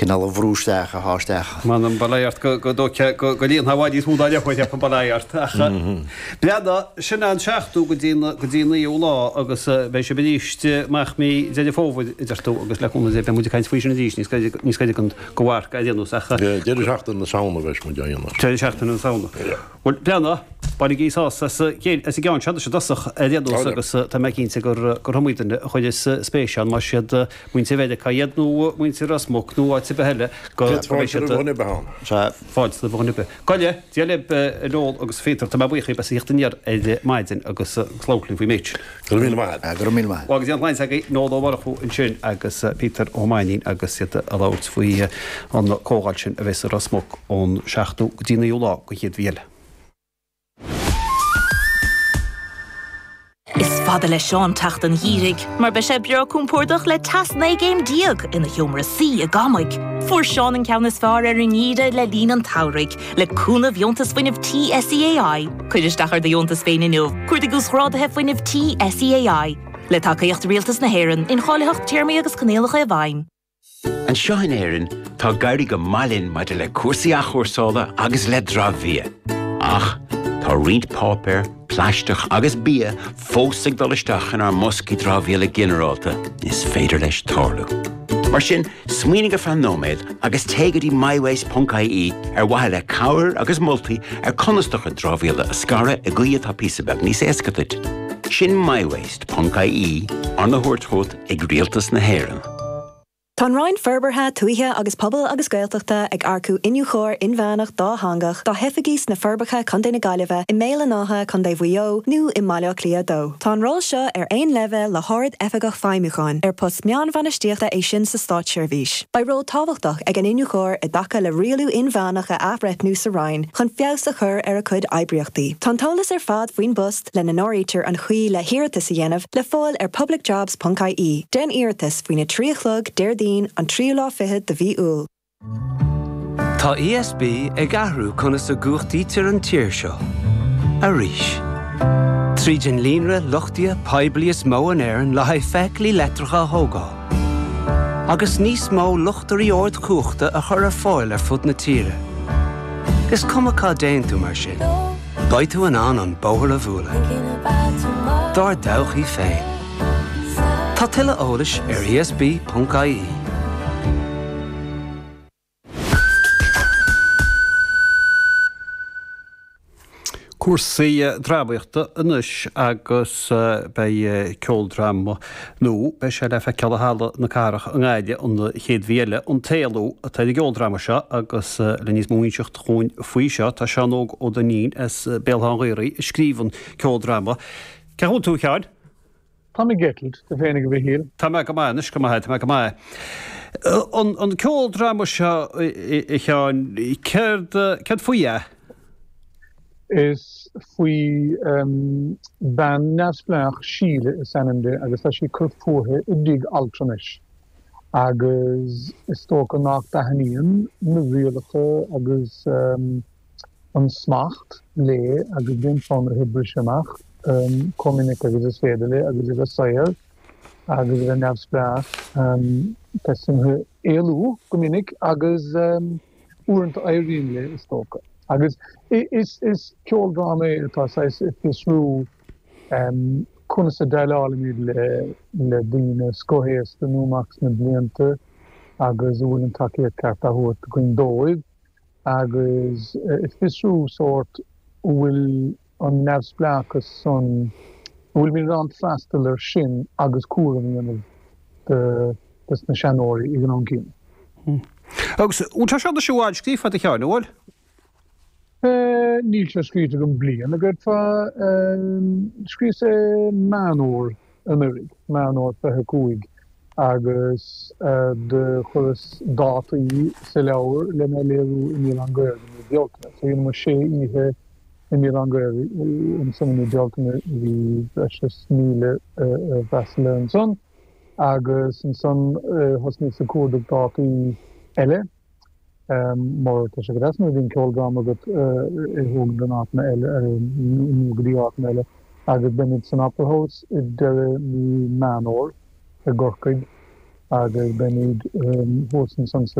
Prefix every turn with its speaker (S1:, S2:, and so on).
S1: cineál a bhrú isteach, a shá isteach.
S2: M'anam, bail ort go dócha go líonfá i bhfad níos mó dá leithéid, cheapfainn, bail ort. Ach breathnaigh, sin an seachtú go dtí go dtí an naoú lá agus beidh sibh arís amach mí Deireadh Fómhair, a deir tú, agus le cúnamh Dé beidh muid ag caint faoi sin arís níos gaire níos gaire don amharc ar aon nós
S3: ach. Deireadh seachtaine na Samhna a bheas muid á dhéanamh.
S2: Deireadh seachtaine na Samhna. Bhuel, breathnaigh, bainigí sásamh as an gceann seo anois i dtosach ar aon nós agus tá mé cinnte gur gur iomaí duine a chuireas spéis ann más iad muintir Mheiriceá iad nó muintir Ros Muc nó áit ar bith eile
S3: go mbeidh siad Fáilte roimh dhuine ar bith ann.
S2: Sea, fáilte roimh dhuine ar bith. Gabh i leith, Dia libh, a Noel agus a Phíotair, tá mé buíoch díbh as a thíocht aniar ar maidin agus labhairt linn faoin méid
S3: sin. Go raibh míle maith agat.
S1: Go raibh míle maith.
S2: Go dtí an tsláinte agaibh, Noel Ó Murchú ansin agus Peter Ó Mainnín agus iad ag labhairt faoi an comhdháil sin a bheas i Ros Muc ón seachtú go dtí an naoú lá den chéad mhí eile.
S4: Is fada le Seán teacht an gheimhridh, mar beidh sé breá compordach le teas 19 gcéim ina sheomra suí i gCamaigh. Fuair Seán an ceann is fearr ar an ngeimhreadh le linn an tsamhraidh, le cúnamh Dheontas Fuinnimh Tí SEAI. Cuir isteach ar do dheontas féin inniu, cuardaigh Uasghráduithe Fuinnimh Tí SEAI. Le tacaíocht Rialtas na hÉireann, incháilitheacht, téarmaí agus coinníollacha i bhfeidhm.
S5: Anseo in Éirinn, tá ag éirí go maith linn maidir le cúrsaí athchúrsála agus le dramhbhia. Ach tá roinnt páipéar, plaisteach agus bia fós ag dul isteach inár mboscaí dramhaíola ginearálta, is féidir leis tarlú. Mar sin, smaoinigh ar feadh nóiméad agus téigh go dtí mywaste.ie ar mhaithe le cabhair agus moltaí ar conas do chuid dramhaíola a scaradh i gcaoi atá píosa beag níos éasca duit. Sin mywaste.ie, arna thabhairt chugat ag Rialtas na hÉireann.
S6: Tá an Roinn Forbartha Tuaithe agus Pobail agus Gaeltachta ag earcú Iniúchóir Inmheánach Dátheangach dá hoifigí sna Forbacha, Co. na Gaillimhe, i mBéal an Átha, Co. Mhaigh Eo, nó i mBaile Átha Cliath 2. Tá an ról seo ar aon leibhéal le hArd Oifigeach Feidhmiúcháin, ar post meánbhainistíochta é sin sa státseirbhís. Beidh ról tábhachtach ag an Iniúchóir i dtaca le rialú inmheánach a athbhreithniú sa Roinn chun feabhas a chur ar a cuid oibríochtaí. Tá an t-eolas ar fad faoin bpost, lena n-áirítear an chaoi le hiarratas a dhéanamh, le fáil ar publicjobs.ie. Déan iarratas faoina 3 a chlog, Déardaoin, an tríú lá fichead de mhí Iúil.
S7: Tá ESB ag athrú conas a gcumhachtaítear an tír seo. Arís. Tríd an líonra luchtaithe poiblí is mó in Éirinn le haghaidh feithiclí leictreacha a thógáil. Agus níos mó luchtairí ardchumhachta a chur ar fáil ar fud na tíre. Is cuma cá dtéann tú mar sin. Beidh tú in ann an bóthar a bhualadh. Dár dtodhchaí féin. Tá tuilleadh eolais ar esb.ie.
S2: Cúrsaí drámaíochta anois agus beidh ceoldráma nó beidh sé le feiceáil i Halla na Cathrach i nGaillimh an chéad mhí eile, An tÉalú atá ar an gceoldráma seo agus le níos mó a inseacht dhúinn faoi seo tá Seán Óg Ó Duinnín as Béal Átha an Ghaorthaidh a scríobh an ceoldráma. Cén chaoi a bhfuil tú a Sheáin?
S8: Tá mé ag eitilt, tú féinig a Mhichíl?
S2: Tá mé go maith anois, go maith, tá mé go maith. An an ceoldráma seo a Sheáin, céard, céard faoi é?
S8: Is faoi bean neamhspleách, Síle is ainm di, agus tá sí ag cur fúithi i dtigh altranais. Agus is dócha nach dtaitníonn na rialacha agus an smacht léi agus bíonn fonn uirthi briseadh amach chomh minic agus is féidir léi agus a bheith saor agus a bheith neamhspleách. Tá suim aici éalú go minic agus uaireanta éiríonn léi is dócha. Agus is ceoldráma é atá saghas ag fiosrú conas a déileálaimid le daoine scothaosta nó amach sna blianta agus an bhfuil an tacaíocht ceart á thabhairt againn dóibh agus ag fiosrú sórt an bhfuil an neamhspleáchas san, an bhfuilimid in ann freastal air sin agus cúram a dhéanamh de na seanóirí ag an am céanna.
S2: Agus an bhfuil sé seo anois i bhfad scríofa agat a Sheáin, an bhfuil?
S8: Níl sé scríte agam bliain, a déarfá. Scríos é Meán Fhómhair anuraidh, Meán Fhómhair 25, agus do chuireas dátaí sa leabhar lena léiriú i mBéal Átha an Ghaorthaidh i mí Bealtaine. So dheineamar sé oíche i mBéal Átha an Ghaorthaidh ansan i mí Bealtaine, bhí breis is 1,000 a d'fhreastail air ansan, agus ansan thosnaíos ag cuardach dátaí eile. Mar tá sé go deas nuair a bhíonn ceoldráma agat é a thógaint in áiteanna eile nó go dtí áiteanna eile agus beimid san Opera House i deireadh mí Meán Fhómhair i gCorcaigh agus beimid thuas ansan sa.